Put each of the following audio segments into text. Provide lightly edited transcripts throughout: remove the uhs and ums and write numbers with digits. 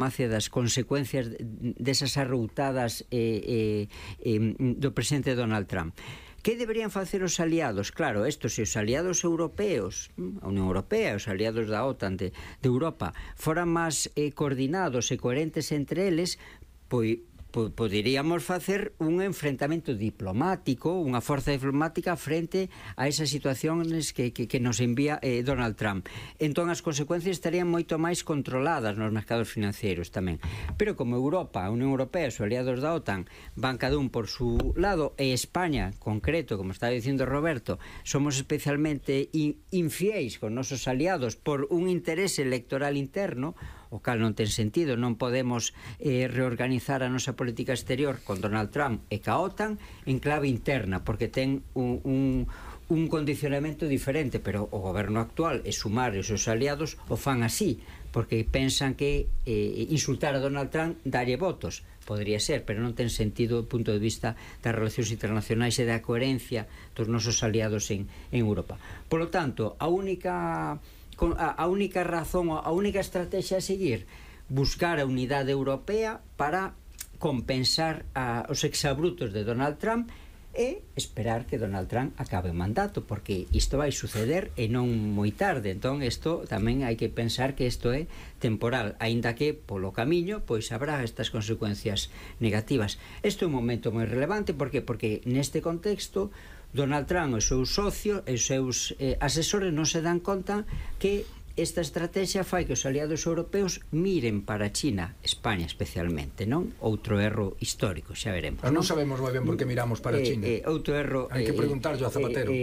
das consecuencias desas arroutadas do presidente Donald Trump. Que deberían facer os aliados? Claro, se os aliados europeos, a Unión Europea, os aliados da OTAN de Europa, foran máis coordinados e coherentes entre eles, pois poderíamos facer un enfrentamento diplomático, unha forza diplomática frente a esas situacións que nos envía Donald Trump. Entón as consecuencias estarían moito máis controladas nos mercados financeiros tamén. Pero como Europa, a Unión Europea, os aliados da OTAN van cada un por su lado, e España, concreto, como estaba dicindo Roberto, somos especialmente infiéis con nosos aliados por un interese electoral interno, o cal non ten sentido. Non podemos reorganizar a nosa política exterior con Donald Trump e ca OTAN en clave interna, porque ten un condicionamento diferente, pero o goberno actual e Sumar e os seus aliados o fan así, porque pensan que insultar a Donald Trump dalle votos. Podría ser, pero non ten sentido do punto de vista das relacións internacionais e da coherencia dos nosos aliados en Europa. Por lo tanto, a única razón, a única estrategia a seguir, buscar a unidade europea para compensar os exabrutos de Donald Trump e esperar que Donald Trump acabe o mandato, porque isto vai suceder e non moi tarde. Entón, isto tamén hai que pensar que isto é temporal, aínda que polo camiño pois habrá estas consecuencias negativas. Isto é un momento moi relevante, porque neste contexto Donald Trump e os seus socios e os seus asesores non se dan conta que esta estrategia fai que os aliados europeos miren para China, España especialmente, non? Outro erro histórico, xa veremos. Non sabemos moi ben por que miramos para China. Outro erro hai que preguntarlo a Zapatero.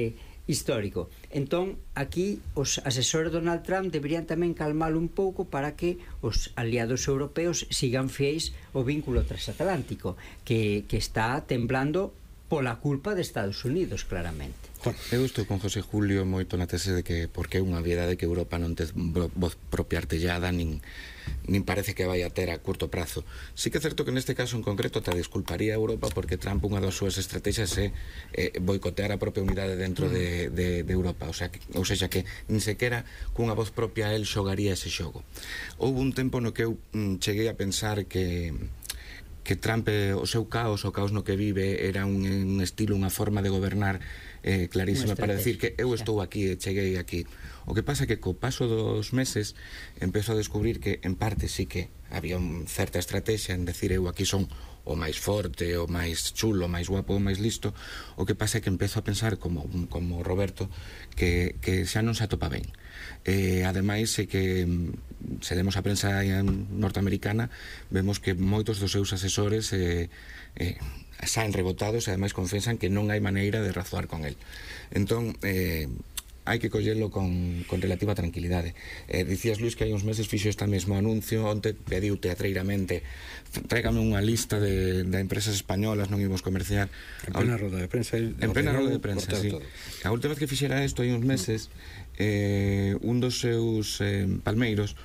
Histórico. Entón, aquí os asesores de Donald Trump deberían tamén calmalo un pouco para que os aliados europeos sigan fiéis ao vínculo transatlántico, que está temblando pola culpa de Estados Unidos, claramente. Eu estou con José Julio moito na tese de que porque é unha obviedade que Europa non ten voz propia artellada nin parece que vai a ter a curto prazo. Sí que é certo que neste caso en concreto te disculparía a Europa porque Trump unha das súas estrategias é boicotear a propia unidade dentro de Europa, ou seja que nin sequera cunha voz propia el xogaría ese xogo. Houve un tempo no que eu cheguei a pensar que Trump, o seu caos, o caos no que vive, era un estilo, unha forma de gobernar clarísima para decir que eu estou aquí e cheguei aquí. O que pasa é que co paso dos meses empezo a descubrir que en parte sí que había certa estrategia en decir eu aquí son o máis forte, o máis chulo, o máis guapo, o máis listo. O que pasa é que empezo a pensar como Roberto que xa non se atopa ben. Ademais é que se demos a prensa norteamericana vemos que moitos dos seus asesores saen rebotados e ademais confesan que non hai maneira de razoar con el. Entón hai que collelo con relativa tranquilidade. Dicías, Luis, que hai uns meses fixo este mesmo anuncio, onte pediu teatreiramente tráigame unha lista de empresas españolas, non imos comerciar. En plena roda de prensa. En plena roda de prensa, sí. A última vez que fixera isto, hai uns meses, un dos seus palmeiros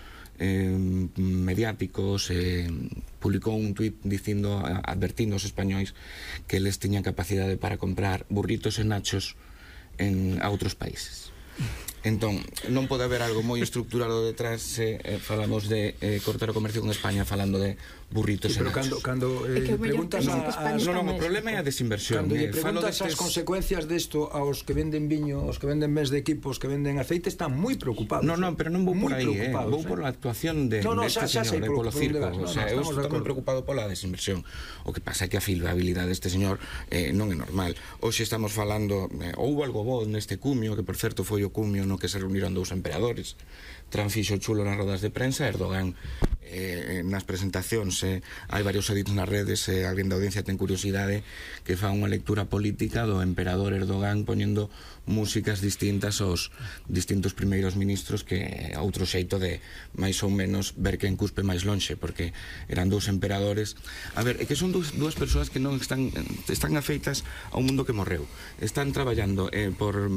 mediáticos publicou un tuit advertindo aos españois que eles tiñan capacidade para comprar burritos e nachos a outros países. Entón, non pode haber algo moi estructurado detrás se falamos de cortar o comercio con España falando de burritos e nachos. Pero cando preguntas o problema é a desinversión. Cando lle preguntas as consecuencias desto aos que venden viño, aos que venden mes de equipos, que venden aceite, están moi preocupados. Pero non vou por aí, vou por a actuación deste señor, polo circo. Eu estou moi preocupado pola desinversión. O que pasa é que a filabilidade deste señor non é normal. Hoxe estamos falando, houve algo bo neste cumio, que por certo foi o cumio no que se reuniron dous emperadores. Trump fixo chulo nas rodas de prensa, Erdogan nas presentacións hai varios edits nas redes, alguén da audiencia ten curiosidade que fa unha lectura política do emperador Erdogan poñendo músicas distintas aos distintos primeiros ministros, que outro xeito de máis ou menos ver quen cuspe máis lonxe, porque eran dous emperadores. A ver, é que son dúas persoas que non están afeitas a un mundo que morreu, están traballando por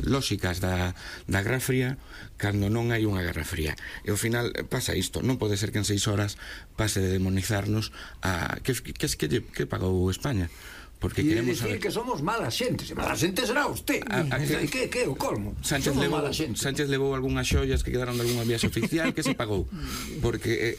lóxicas da Guerra Fría cando non hai unha Guerra Fría, e ao final pasa isto. Non pode ser que en 6 horas pase de demonizarnos a que pagou España, porque queremos decir que somos mala xente. Se mala xente será usted. Que o colmo. Sánchez levou algunhas xoias que quedaron de algunha viaxe oficial que se pagou, porque